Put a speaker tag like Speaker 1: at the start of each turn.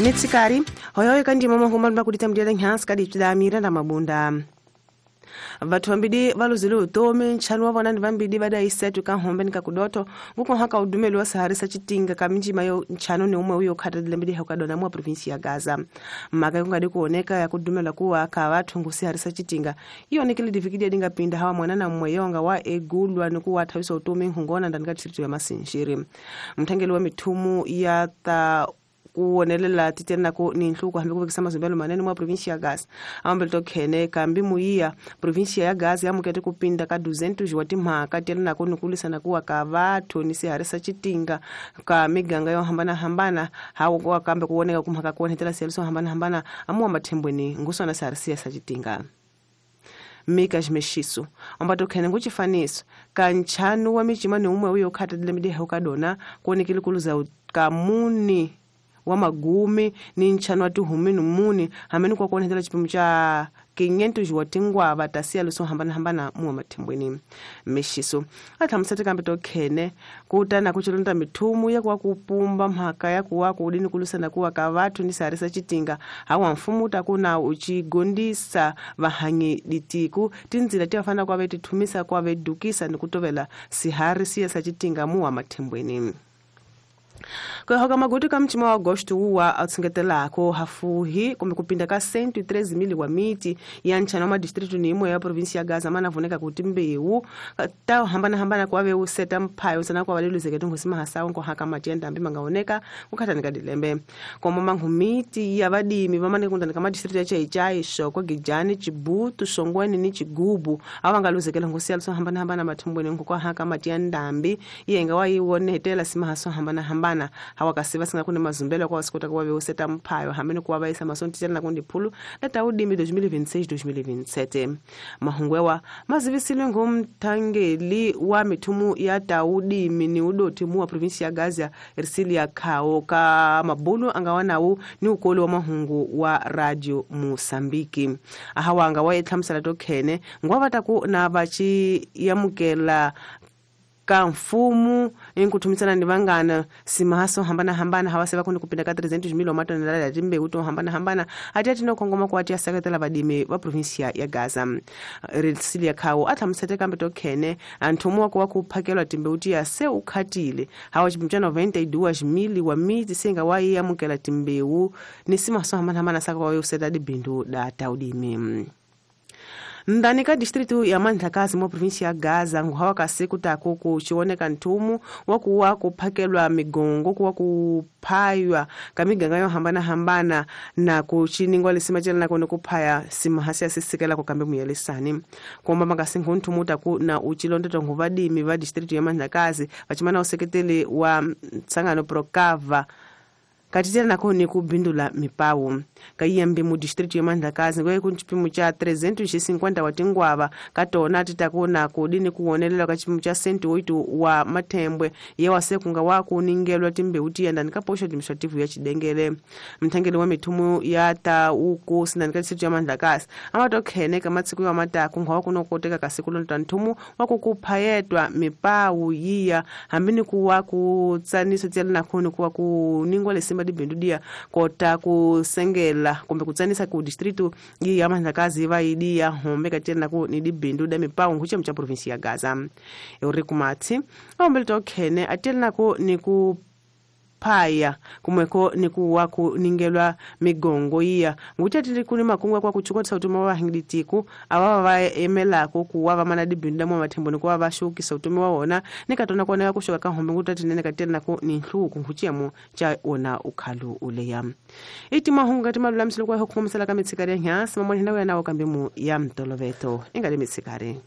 Speaker 1: Mitsikari hoyoyo kandima mahumba kulita mdiala nhansi kadi tsidamira na mabunda vathu vambidi valuzile utomi nchanu wa vona ni vambidi vadayisetu ka hombe ni kakudoto nguko haka udumeli wa saharisa chitinga ka minjima yo nchanu ni umwe uyo khatadile mbidi hukadona mwa provinsi ya Gaza maka kungadi kuoneka ya kudumela kuwa ka vathu ngusiharisa chitinga ionekele divikidia dinga pinda hawa mwana na mmweyonga wa egulwa ni kuwa thawisa utomi nhungona ndani ka distrito ya Masinjiri mthangeli wa mithumu ya ta kuonelela titena ko ni nhluko hambi kuvekisa mazumbelo manene mwa provinsi ya Gaza ambele tokhene kambi muiya provinsi ya Gaza yamukete kupinda ka 200 wa timhaka telena ko nikulisana kuwa ka vathu ni siharisa chitinga ka miganga yo hambana hambana hawo kwa kambe kuoneka kumhaka kuonetela seliso hambana hambana amuwa mathembweni ngusona siharisa sa chitinga Mika jimeshiso ambato khene nguchifaniso kanchanu wa michima ni umwe uyo khatadile midi hukadona kuonekile kuluza kamuni wa magumi ni nchanu wa tuhumi numuni hameni kwa kuonetela chipimo cha 500 wa tingwa vatasia luso hambana hambana muwa mathembweni meshiso athamusete kambe tokhene kutana kuchilonda mithumu ya kuwa kupumba mhaka ya kuwa kudini kulusana kuwa ka vathu ni sarisa chitinga hawa mfumu takuna uchigondisa vahanyi ditiku tinzila tiwafana kwa vetithumisa kwa vedukisa ni kutovela sihari siya sa chitinga muwa mathembweni Kwa magutu ka mchima wa Agosto uwa atsingetelako hafuhi kumbe kupinda ka 113,000 wa miti ya nchana wa distritu ni imwe ya provinsi ya Gaza mana voneka kuti mbewu ta hambana hambana kwa ve useta mphayo sana kwa valeluzeke tungusima hasawo nko haka matenda ambi mangaoneka kukhatani dilembe komo manghumiti ya vadimi vamane kundani ka madistritu ya Chaichai Shoko Gijani Chibutu Shongweni ni Chigubu avangaluzekela ngusiya so hambana hambana mathumbweni nko kwa haka matenda ambi yenga wayiwonetela simahaso hambana hambana hawakasiva singa kune mazumbelo kwa wasikota kwa veuseta mphayo hamene kuwa vaisa masonti na kundi phulu la taudimi 2026-2027 mahungwewa mazivisile ngumthangeli wa mithumu ya taudimi ni udoti mu wa provinsi ya Gaza Ersilia Khao ka mabulu angawanawu ni ukoli wa mahungu wa Radio Mosambiki ahawa anga wa tokhene ngwavataku na vachi yamukela ka mfumu inkuthumisana ni vangana simahaso hambana hambana hawaseva kundi kupinda ka 300,000 wa matonelada ya timbewu to hambana hambana ati atino khongoma ku ati aseketela vadimi va provinsia ya Gaza Ersilia Khao athamusete kambe tokhene anthumu wa kuwa kuphakelwa timbewu tiya se ukhatile hawa chipimo cha 92,000 wa miti singa waiyamukela timbewu ni simahaso hambana hambana saka wa useta dibindu da taudimi ndani ka distritu ya Mandlakazi mwa provinsi ya Gaza nguhawa kasiku tako kuchioneka nthumu wa kuwa kuphakelwa migongo kuwa kuphaywa ka miganga yo hambana hambana na kuchiningwa lisima chela nakone kuphaya simahasi asisikela kukambe muyelisani komba makasingu nthumu taku na uchilondoto nguvadimi va distritu ya Mandlakazi vachimana useketeli wa ntsangano Procava katitela nako ni kubindula mipawu kaiyambi mu distritu ya Mandlakazi ngoye kunchipimo cha 350 wa tingwava katona titakuna kudini kuonelela ka chipimo cha 108 wa mathembwe ye wasekunga wa kuningelwa timbewu tiyandani ka posho administrative ya Chidengele mthangeli wa mithumu ya ta uku sindani ka distritu ya Mandlakazi amatokhene ka matsiku ya mataku ngwa kunokoteka kasiku lonta nthumu wa kukuphayetwa mipawu yiya hambini kuwa kutsaniso tsela nakhoni kuwa kuningwa lesi madibindu kota kusengela kumbe kutsanisa ku distritu ya Mandlakazi vaidiya hombe katena ku ni dibindu da mipawu nguche mcha provinsi ya Gaza Eurico Matsi aombele tokhene atela ku ni ku phaya kumweko ni kuwa kuningelwa migongo iya ngutatili kuni makungwa kwa kuchukotsa utumi wa hingilitiku awava va emelako kuwa va mana dibindu mwa mathembo ni kuwa va xukisa utumi wa wona ni katona kuoneka kuxoka ka hombe ngutatinene katela ku ni nhluku nkhuchiyamo cha wona ukhalu uleya iti mahungu kati malulamiselo kwa hukhumisela ka mitsikari ya nyasi mamoni hina ya nawo kambe mu ya mtoloveto ingali mitsikari.